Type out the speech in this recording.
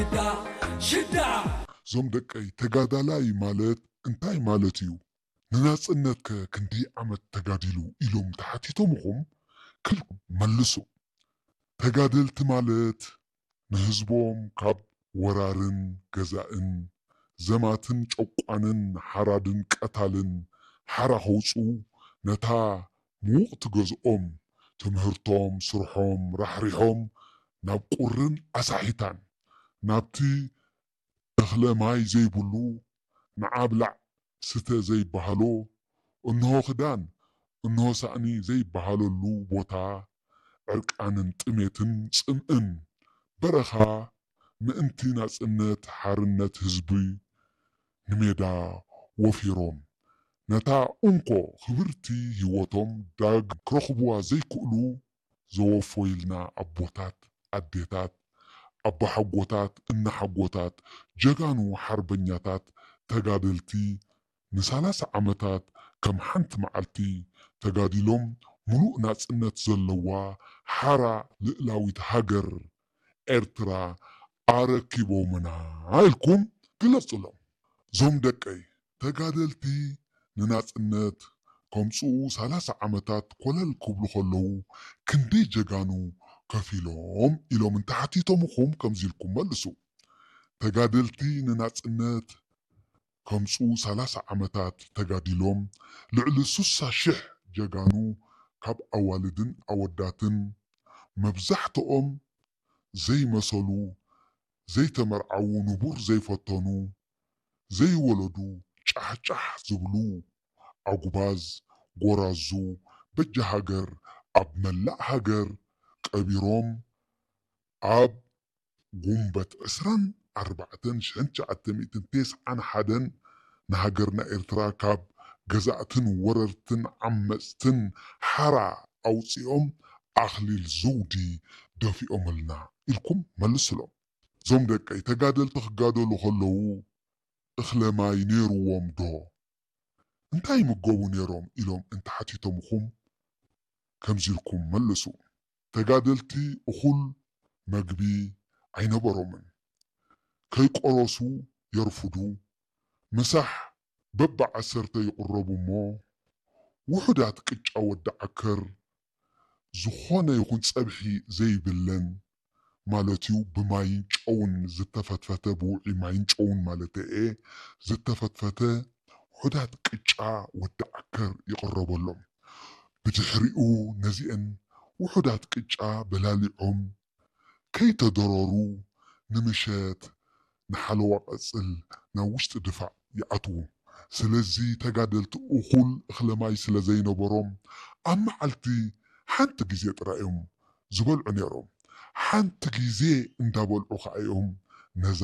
ሽዳ ሽዳ። እዞም ደቀይ፣ ተጋዳላይ ማለት እንታይ ማለት እዩ? ንናጽነት ከ ክንደይ ዓመት ተጋዲሉ ኢሎም ተሓቲቶምኹም፣ ክልኩም መልሱ። ተጋደልቲ ማለት ንህዝቦም ካብ ወራርን ገዛእን፣ ዘማትን ጨቋንን፣ ሓራድን ቀታልን ሓራ ከውጽኡ፣ ነታ ምውቕቲ ገዝኦም፣ ትምህርቶም፣ ስርሖም ራሕሪሖም ናብ ቁርን ኣሳሒታን፣ ናብቲ እኽለ ማይ ዘይብሉ፣ ንዓ ብላዕ ስተ ዘይበሃሎ፣ እንሆ ክዳን እንሆ ሳእኒ ዘይበሃለሉ ቦታ፣ ዕርቃንን ጥሜትን ጽምእን በረኻ ምእንቲ ናጽነት ሓርነት ህዝቢ ንሜዳ ወፊሮም፣ ነታ እንኮ ክብርቲ ህይወቶም ዳግ ክረኽብዋ ዘይክእሉ ዘወፈዩልና ኣቦታት፣ ኣዴታት፣ ኣቦሓጎታት፣ እነሓጎታት፣ ጀጋኑ ሓርበኛታት፣ ተጋደልቲ ንሳላሳ ዓመታት ከም ሓንቲ መዓልቲ ተጋዲሎም፣ ምሉእ ናጽነት ዘለዋ ሓራ ልእላዊት ሃገር ኤርትራ ኣረኪቦምና ኢልኩም ግለጹሎም። እዞም ደቀይ፣ ተጋደልቲ ንናጽነት ከምጽኡ ሳላሳ ዓመታት ኮለል ክብሉ ከለዉ ክንደይ ጀጋኑ ከፊሎም ኢሎም እንተሓቲቶምኹም ከምዚ ኢልኩም መልሱ። ተጋደልቲ ንናጽነት ከምጽኡ ሳላሳ ዓመታት ተጋዲሎም፣ ልዕሊ ሱሳ ሽሕ ጀጋኑ ካብ ኣዋልድን ኣወዳትን፣ መብዛሕትኦም ዘይመሰሉ፣ ዘይተመርዓዉ፣ ንቡር ዘይፈተኑ፣ ዘይወለዱ፣ ጫሕጫሕ ዝብሉ ኣጉባዝ፣ ጎራዙ፣ በጃ ሃገር ኣብ መላእ ሃገር ቀቢሮም፣ ኣብ ጉንበት ዕስራን ኣርባዕተን ሽሕን ትሽዓተ ሚእትን ተስዓን ሓደን ንሃገርና ኤርትራ ካብ ገዛእትን ወረርትን ዓመጽትን ሓራ ኣውጺኦም ኣኽሊል ዘውዲ ደፊኦምልና ኢልኩም መልስሎም። እዞም ደቀይ፣ ተጋደልቲ ክጋደሉ ከለዉ እኽለ ማይ ነይርዎም ዶ? እንታይ ይምገቡ ነይሮም? ኢሎም እንተሓቲቶምኹም ከምዚ ኢልኩም መልሱ። ተጋደልቲ እኹል መግቢ ኣይነበሮምን። ከይቆረሱ የርፍዱ። ምሳሕ በብዓሰርተ ይቕረቡ እሞ፣ ውሑዳት ቅጫ ወዲ ዓከር፣ ዝኾነ ይኹን ጸብሒ ዘይብለን፣ ማለት እዩ፣ ብማይን ጨውን ዝተፈትፈተ፣ ብውዑይ ማይን ጨውን ማለተይ እየ፣ ዝተፈትፈተ ውሑዳት ቅጫ ወዲ ዓከር ይቕረበሎም። ብድሕሪኡ ነዚአን ውሑዳት ቅጫ በላሊዖም ከይተደረሩ ንምሸት ንሓለዋ ቀጽል ናብ ውሽጢ ድፋዕ ይኣትዉ። ስለዚ ተጋደልቲ እኹል እኽለ ማይ ስለ ዘይነበሮም፣ ኣብ መዓልቲ ሓንቲ ግዜ ጥራይ እዮም ዝበልዑ ነይሮም። ሓንቲ ግዜ እንዳበልዑ ኸኣ እዮም ነዛ